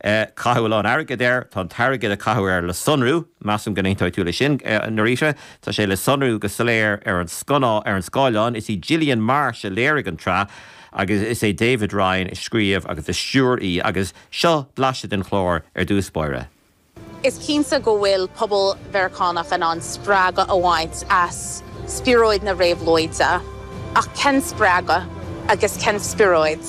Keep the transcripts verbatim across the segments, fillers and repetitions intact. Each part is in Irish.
Caitheadh a lán airgid air, tá an t-airgead a caitheadh air le sonrú, measaim go n-aontóidh tú leis sin, Norita, tá sé le sonrú go soiléir ar an scanná ar an scáileán, is í Gillian Marsh a léirigh an tsraith agus is é David Ryan a scríobh agus a stiúir í agus seo blaiseadh den chlár ar dtús báire. Is cinnte go bhfuil pobal Meiriceánach in ann spreagadh a bhaint as spiorad na réabhlóide, ach cén spreagadh agus cén spiorad.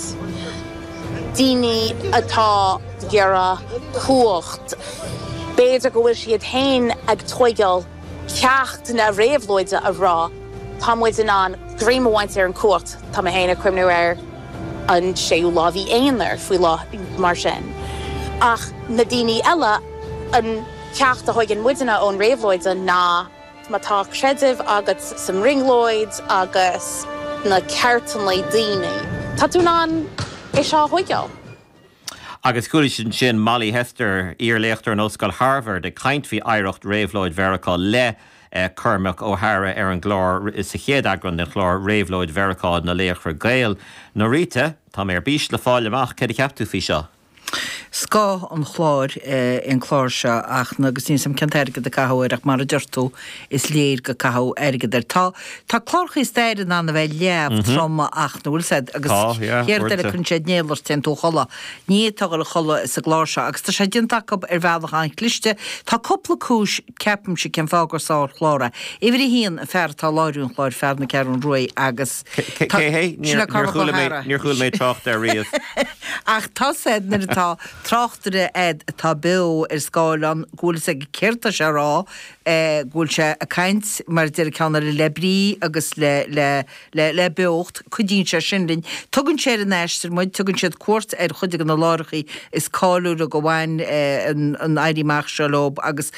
Daoine atá ag iarraidh cumhacht. B'fhéidir go bhfuil siad féin ag tógáil ceacht na réabhlóide a rá, Tá muid in ann greim a bhaint ar an cumhacht, tá mé féin ag cuimhniú ar an séú lá mhí Eanáir faoi lá mar sin. Ach na daoine eile an ceacht a thugann muidne ón réabhlóid ná má tá creideamh agat sa mbrionglóid agus na ceartanna daoine. Tá tú in ann é seo a thógáil. Agus chuala sin sin Molly Hester, iar-léachtóir in Ollscoil Harvard ag caint faoi oidhreacht réabhlóid Mheiriceá le Cormac Ó hEadhra ar an gclár sa chéad eagrán den chlár Réabhlóid Mheiriceá na Laochra Gael. Norita, tá mé ar bís le fáil amach céard a cheap tú faoi seo. Scoth an chláir an clár seo ach agus níl a fhios agam cén t-airgead a caitheadh air ach mar a deir tú is léir go caitheadh airgead air. Tá tá cláracha staire in ann a bheith leamh trom ach nó bhfuil said agus céard eile cuireann siad néal ort téann tú a chodladh. Ní fhéadfá dul a chodladh sa gclár seo agus tá sé déanta acu ar bhealach an-chliste. Tá cúpla cúis ceapaimse cén fáth gur sárchlár é. Uimhir a haon an fear atá ag láithriú an chláir fear na Ceathrún Rua agus Cé hé? Níor chuala mé níor chuala mé trácht air riamh. Ach tá said nuair atá tráchtaire a'd atá beo ar scáileán go bhfuil fhios aige céard tá sé a rá, go bhfuil sé ag caint mar a deir an ceann eile le brí agus le le le le beocht, cuidíonn sé sin linn. Tugann sé ar an aistear muid, tugann siad cuairt ar chuid de na láithreacha is cáiliúla go bhain an an éirí amach seo leo agus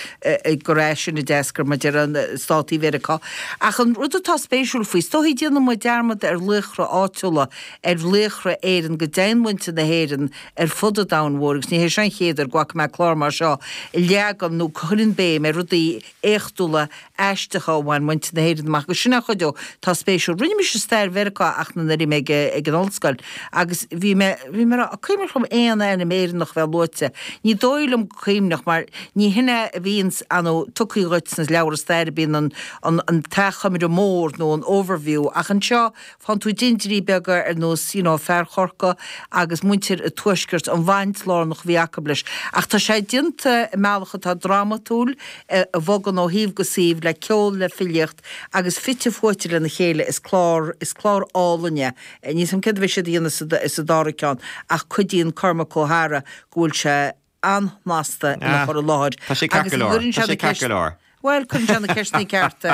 gur as sin a d'eascair mar a deir an Státaí Mheiriceá. Ach an rud atá spéisiúil faoi, is dóichí déanann muid dearmad ar laochra áitiúla, ar laochra Éireann, go deimhin muintir na hÉireann ar fud an domhain mhóir agus ní hé seo an chéad uair go bhfaca mé clár mar seo a leagann nó cuireann béim ar rudaí éachtúla aisteacha a bhain muintir na hÉireann amach agus sin an chuid atá spéisiúil. Rinne mise stair Mheiriceá ach nuair a bhí mé ag ag an ollscoil agus bhí mé bhí mé ag cuimhneach liom aon ainm Éireannach a bheith luaite. Ní dóigh liom go cuimhneach mar ní hin é a bhíonn ann tugtha dhuit sna leabhra staire bíonn an an an t-achoimre mór nó an overview ach anseo Faigheann tú dindiuirí beaga ar nós you know fear Chorcaí agus muintir an Tuaiscirt, an bhaint lárnach a bhí acu leis. Ach tá sé déanta i mbealach atá drámatúil, a bhogann ó shuíomh go suíomh, le ceol, le filíocht agus fite fuaite lena chéile. Is clár, is clár álainn é. Níl 's a'm céard a bheidh siad a dhéanamh sa dara ceann ach cuidíonn Cormac Ó hEadhra go bhfuil sé an-shnasta ina chur i láthair Tá sé ceart agus go leor. cuireann Tá sé sé na ceart go ceist leor. Bhuel, cuireann sé na ceisteanna cearta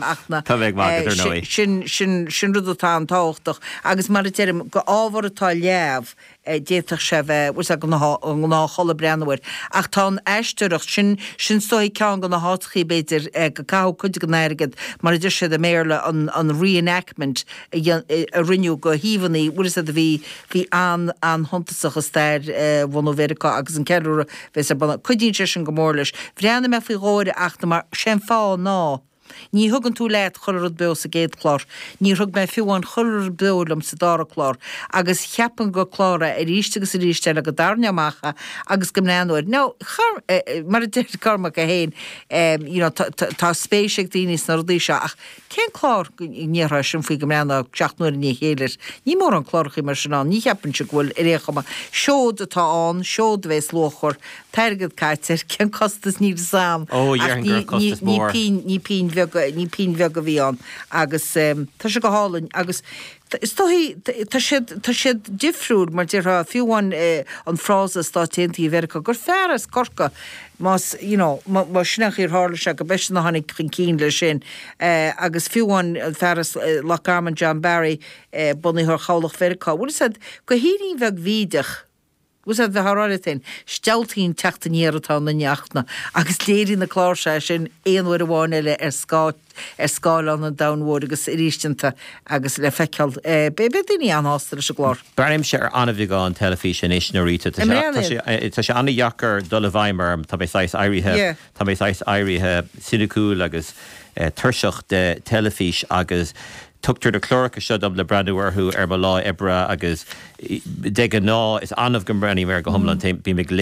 ach na Tá mé ag magadh, ar ndóigh. sin sin sin rud atá an-tábhachtach agus mar a deirim, go ábhar atá leamh, d'fhéadfadh sé a bheith, bhfuil 's a'd, an gnáthchodladh breathnú air. Ach tá an aisteoireacht, sin sin is dóichí ceann de na háiteachaí b'fhéidir go caitheadh cuid den airgead, mar a deir siad i mBéarla, an an re-enactment a dhéan a rinneadh go híomhánna, bhfuil 's a'd, a bhí bhí an an-shuntasach i stair bhunú Mheiriceá agus an ceiliúradh a bheas ar bun. Cuidíonn sé sin go mór leis. Bhreathnaigh mé faoi dhó air ach mar sé an fáth ná ní thugann tú leat chuile rud beo sa gcéad chlár. Níor thug mé fiú amháin chuile rud beo liom sa dara clár agus cheapfainn gur clár é arís agus arís eile go dtarraingeodh amach é agus go mbreathnóinn air. Now, mar a deir Cormac é féin, you know, tá spéis ag daoine sna rudaí seo ach Cén clár go ndéarfá sin faoi go mbreathnófá seacht n-uaire i ndiaidh a chéile air? Ní mórán clárachaí mar sin ann. Ní cheapfainnse go bhfuil ar aon chuma. Seod atá ann, seod a bhéas luachmhar. T-airgead caite air, cén costas níl fhios a'm Ó, ach dhéarfainn ní, go raibh ní, costas ní mór. pínn, ní pínn bheag, ní pínn bheag a bhí ann. Agus tá sé go hálainn agus is dóichí, tá siad, tá siad difriúil mar déarfá, fiú amháin an frása Stáit Aontaithe Mheiriceá gur fear as Corcaigh más, you know, má sin an chaoi ar tharla sé, go b'eisean a tháinig chun cinn leis sin. Agus fiú amháin an fear as Loch Garman, John Barry, bunaitheoir Chabhlach Mheiriceá, bhfuil fhios a'd, go hírín bheag bhídeach, bhfuil fhios a'd, bheifeá ag rá leat féin, stealltaí an teacht aniar atá i nduine Fhachtna, agus léirigh na cláir seo é sin aon uair amháin eile ar scáth, ar scáileán an domhain mhóir agus arís déanta agus le feiceáil. Beidh daoine an-shásta leis an gclár. Breathnaímse ar an-bheagán teilifíse anois, Norita. Tá sé, tá sé an-dheacair dul i bhfeidhm orm. Tá mé saghas éirithe, tá mé saghas éirithe soiniciúil agus tuirseach de teilifís agus tugtar na cláracha seo dom le breathnú orthu ar mo lá oibre agus de ghnáth is annamh go mbreathnaím air go hiomlán. Bím ag léamh.